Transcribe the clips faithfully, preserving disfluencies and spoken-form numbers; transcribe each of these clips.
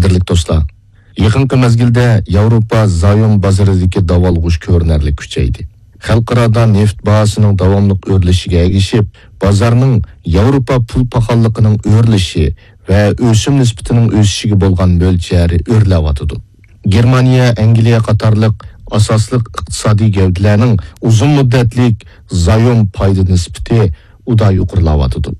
قەدىرلىك دوستلار، يېقىنقى مەزگىلدە ياۋروپا زايوم بازىرىدىكى داۋالغۇش كۆرۈنەرلىك كۈچەيدى. خەلقئارادا نېفىت باھاسىنىڭ داۋاملىق ئۆرلىشىگە ئەگىشىپ، بازارنىڭ ياۋروپا پۇل پاخاللىقىنىڭ ئۆرلىشى ۋە ئۆسۈم نىسبىتىنىڭ ئۆسۈشىگە بولغان مۆلچەرى ئۆرلەۋاتىدۇ. گېرمانىيە، ئەنگلىيە قاتارلىق ئاساسلىق ئىقتىسادىي گەۋدىلەرنىڭ ئۇزۇن مۇددەتلىك زايوم پايدا نىسبىتى ئۇدا يۇقىرىلاۋاتىدۇ.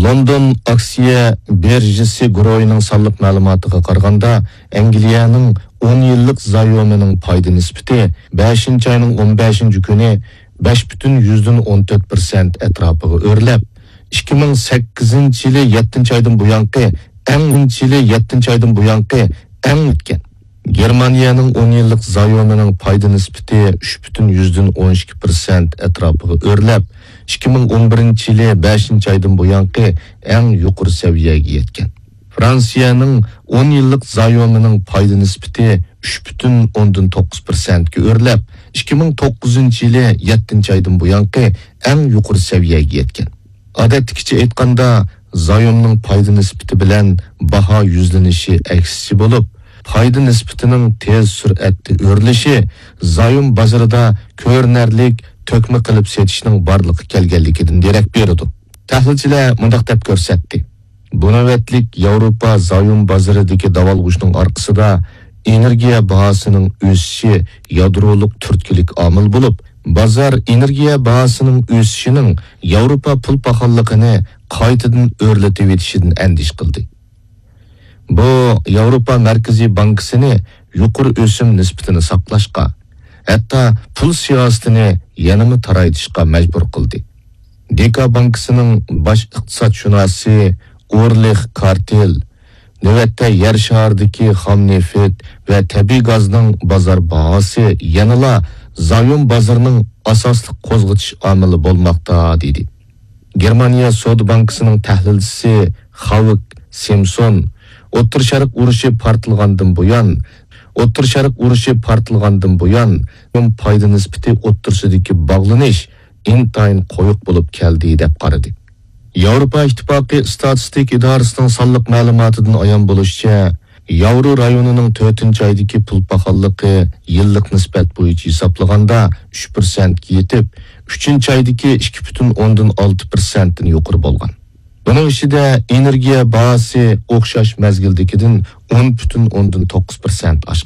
لوندون ئاكسىيە بىرژىسى گۇرۇھىنىڭ سانلىق مەلۇماتىغا قارىغاندا، ئەنگلىيەنىڭ ئون يىللىق زايومىنىڭ پايدا نىسبىتى بەشىنچى ئاينىڭ ئون بەشىنچى كۈنى بەش پۈتۈن يۈزدىن ئون تۆت پىرسەنت ئەتراپىغا ئۆرلەپ، ئىككى مىڭ سەككىزىنچى يىلى يەتتىنچى ئايدىن بۇيانقى ئەڭ، يىلى يەتتىنچى ئايدىن بۇيانقى ئەڭ ئۆتكەن. گېرمانىيەنىڭ ئون يىللىق زايومىنىڭ پايدا نىسبىتى ئۈچ پۈتۈن يۈزدىن ئون ئىككى پىرسەنت ئەتراپىغا ئۆرلەپ، ئىككى مىڭ ئون بىرىنچى يىلى بەشىنچى ئايدىن بۇيانقى ئەڭ يۇقىرى سەۋىيەگە يەتكەن. فرانسىيەنىڭ ئون يىللىق زايومىنىڭ پايدا نىسبىتى ئۈچ پۈتۈن ئوندىن توققۇز پىرسەنتكە ئۆرلەپ، ئىككى مىڭ توققۇزىنچى يىلى يەتتىنچى ئايدىن بۇيانقى ئەڭ يۇقىرى سەۋىيەگە يەتكەن. ئادەتتىكىچە ئېيتقاندا، زايومنىڭ پايدا نىسبىتى بىلەن باھا يۈزلىنىشى ئەكسىچە بولۇپ، پايدا نىسبىتىنىڭ تېز سۈرئەتتە ئۆرلىشى زايوم بازىرىدا كۆرۈنەرلىك تۆكمە قىلىپ سېتىشنىڭ بارلىققا كەلگەنلىكىدىن دېرەك بېرىدۇ. تەھلىلچىلەر مۇنداق دەپ كۆرسەتتى: بۇ نۆۋەتلىك ياۋروپا زايوم بازىرىدىكى داۋالغۇشنىڭ ئارقىسىدا ئېنېرگىيە باھاسىنىڭ ئۆسۈشى يادرولۇق تۈرتكىلىك ئامىل بولۇپ، بازار ئېنېرگىيە باھاسىنىڭ ئۆسۈشىنىڭ ياۋروپا پۇل پاخاللىقىنى قايتىدىن ئۆرلىتىۋېتىشىدىن ئەندىشە قىلدى. بۇ ياۋروپا مەركىزىي بانكىسىنى يۇقىرى ئۆسۈم نىسبىتىنى ساقلاشقا، ھەتتا پۇل سىياسىتىنى يەنىمۇ تارايتىشقا مەجبۇر قىلدى. دېكا بانكىسىنىڭ باش ئىقتىسادشۇناسى ئورلىخ كارتېل نۆۋەتتە يەر شارىدىكى خام نېفىت ۋە تەبىئىي گازنىڭ بازار باھاسى يەنىلا زايوم بازىرىنىڭ ئاساسلىق قوزغىتىش ئامىلى بولماقتا، دېدى. گېرمانىيە سودا بانكىسىنىڭ تەھلىلچىسى خاۋك سىمسون ئوتتۇرا شەرق ئۇرۇشى پارتلىغاندىن بۇيان، ئوتتۇرا شەرق ئۇرۇشى پارتلىغاندىن بۇيان پايدا نىسبىتى ئوتتۇرىسىدىكى باغلىنىش ئىنتايىن قويۇق بولۇپ كەلدى، دەپ قارىدى. ياۋروپا ئىتتىپاقى ئىستاتىستىك ئىدارىسىنىڭ سانلىق مەلۇماتىدىن ئايان بولۇشىچە، ياۋرو رايونىنىڭ تۆتىنچى ئايدىكى پۇل پاخاللىقى يىللىق نىسبەت بويىچە ھېسابلىغاندا ئۈچ پىرسەنتكە يېتىپ، ئۈچىنچى ئايدىكى ئىككى پۈتۈن ئوندىن ئالتە پىرسەنتتىن يۇقىرى بولغان. بۇنىڭ ئىچىدە ئېنېرگىيە باھاسى ئوخشاش مەزگىلدىكىدىن ئون پۈتۈن ئوندىن توققۇز پىرسەنت ئاشقان.